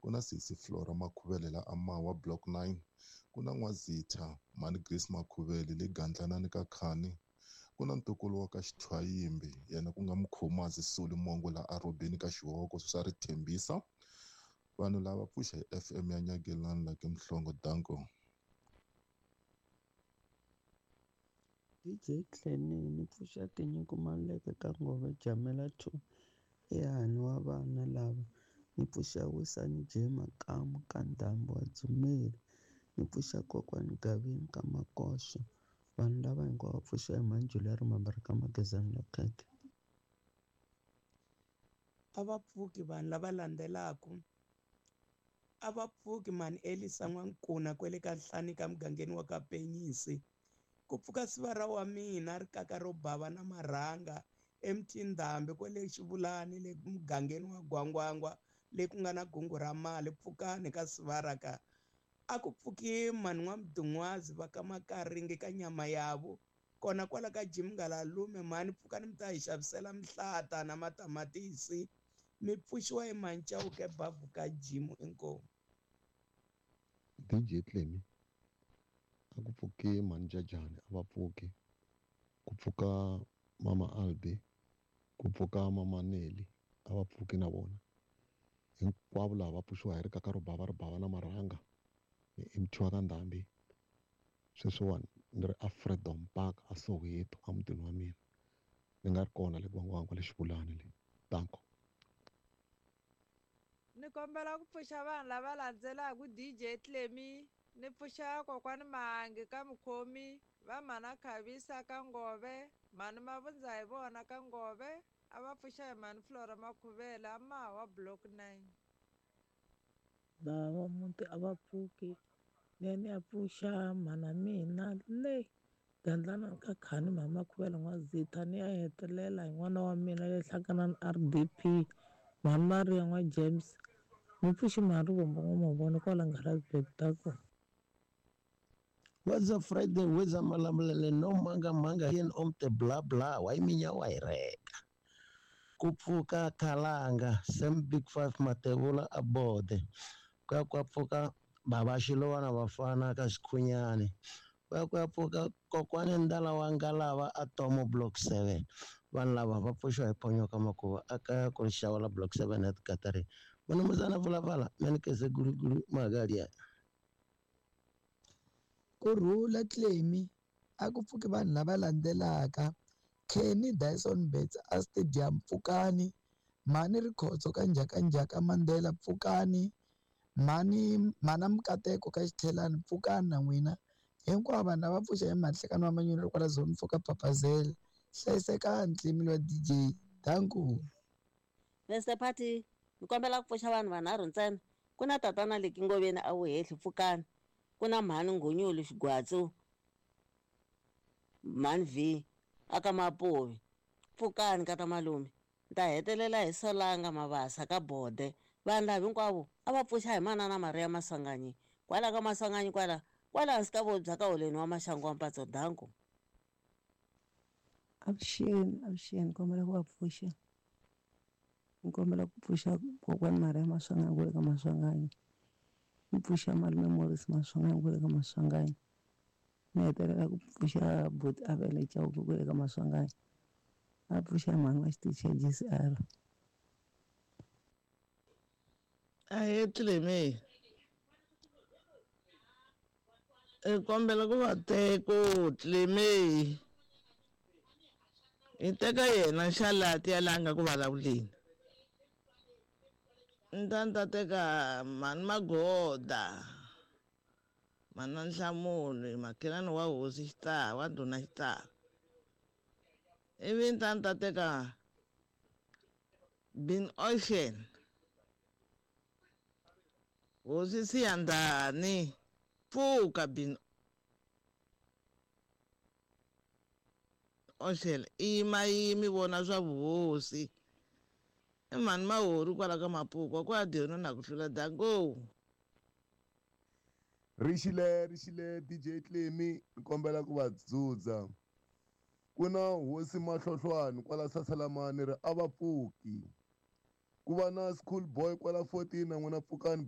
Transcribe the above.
Ku na sesi Flora Makhuvele la Amawa block 9. Ku na N'wazitha mhani Grace Makhuvele le Gandlanani ka Khani. Ku na ntukulu wa ka Xithwayimbi yena ku nga Mkhomazi Soli Mongo la Arobeni ka Xihoko swa ri Thembisa. Vanhu lava pfuxa hi FM ya Nyagelani la ke Mhlongo danko. DJ Clenny ni pfuxa tinyiko Maluleke ka Ngove Jamela 2 ehani wa vana lava ni pfuxa Wisani J Makamu ka Ndhambi wa Dzumeri ni pfuxa kokwani Gavini ka Makoxo vanhu lava hinkwavo va pfuxa hi mhani Julia Rimambara ka Magezani Lokheke. A va pfuki vanhu lava landzelaka a va pfuki mhani Elisa N'wankuna kwele ka Nhlani ka mugangeni wa ka Penyisi ku pfuka sivara wa mina ri kaka ro bava na marhanga eMtindhambi kwele Xivulani le mugangeni wa Gwangwangwa le ku nga na gungu ra mali pfukani ka sivara ka a ku pfuki mhani N'wamdun'wazi va ka Makaringi ka nyama yavo kona kwala ka Jim Ngalalume mhani pfukani mi ta hi xavisela mihlata na matamatisi mi pfuxiwa hi Manchauke bavhu ka Jim inkomu. DJ Clemy a ku pfuki mhani Jajani a va pfuki ku pfuka mama Albi ku pfuka mama Nelly a va pfuki na vona hinkwavo lava va pfuxiwa hi rikaka ro bava ri bava na marhanga ni MT wa ka Ndhambi sweswiwani ni ri a Freedom Park a Soweto a mutini wa mina ni nga ri kona le Gwangwangwa le Xivulani le danko. Ni kombela ku pfuxa vanhu lava landzelaka DJ Clemy ni pfuxa kokwani Mahangi ka Mukhomi va mhana Khavisa ka Ngove mhani Mavundza hi vona ka Ngove a va pfuxa hi mhani Flora Makhuvele a Mahawa block 9. Lava muti a va pfuki ni ya ni ya pfuxa mhana mina le Gandlana ka Khani mhani Makhuvele N'wazitha ni ya hetelela hi n'wana wa mina le Hlakanani RDP mhani Maria N'wa James ni pfuxi mhani Rivombo N'wamavona kwala Ngaradsburg ta ku. What's up Friday wetsa malamulele no manga manga yen om te bla bla wa iminya wa hi reka ku pfuka Khalanga Sam Big Five Matevula a bode ku ya ku ya pfuka baba Xilovana vafana ka Xikhunyani ku ya ku ya pfuka kokwani Ndala wa Ngalava a Tomo block 7 vanhu lava va pfuxiwa hi Ponyoka Makuva a kaya ku ri xawula block 7 at Katari munumuzana vulavala menikese gulugulu magalia. Kurhula Clemy a ku pfuki vanhu lava landzelaka Kenny Dyson Betts a Stadium pfukani mhani Rikhotso ka Njhakanjhaka Mandela pfukani mhani mhana Mukateko ka Xithelani pfukani na n'wina hinkwavo vanhu lava pfuxa hi mhani Nhlekani wa Manyunyu kwala Zone 4 ka Papazela hlayisekani Clemy wa DJ danku. Mr Party ni kombela ku pfuxa vanhu vanharhu ntsena ku na tatana Leki Ngoveni a wu hehli pfukani ku na mhani Nghonyulu Xigwatsu mhani V aka Mapovi pfukani ka ta malume ni ta hetelela hi Solanga Mabasa ka Bode vanhu lava hinkwavo a va pfuxa hi manana Maria Maswanganyi kwala ka Maswanganyi kwala kwala hansi ka vobya ka holeni wa Maxangu wa Mpatso danko. Avuxeni avuxeni kombela ku va pfuxa ni kombela ku pfuxa kokwani Maria Maswanganyi kwale ka Maswanganyi ni pfuxa malume Morris Maswanganyi kwale ka Maswanganyi ni hetelela ku pfuxa buti Avele Chauke kwale ka Maswanganyi a pfuxa mhani wa xitichi xa GCR. Ahee Clemy hi kombela ku va teko Clemy hi teka yena Xalati ya laha nga ku vulavuleni ni ta ni ta teka mhani Magoda mhani Nhlamulo makhelwani wa hosi Xitava wa ndhuna Xitava ivi ni ta ni ta teka Bin Ocean hosi Siyandhani pfuka Bin Ocean i yimayimi vona swa vuhosi i mhani Mahori kwala ka Mapuku kwa dyona na ku hlula dango. Rixile rixile DJ Clemy ni kombela ku va dzudza ku na hosi Mahlohlwani kwala Sasalamani ri a va pfuki ku va na school boy kwala 14 na n'wina pfukani.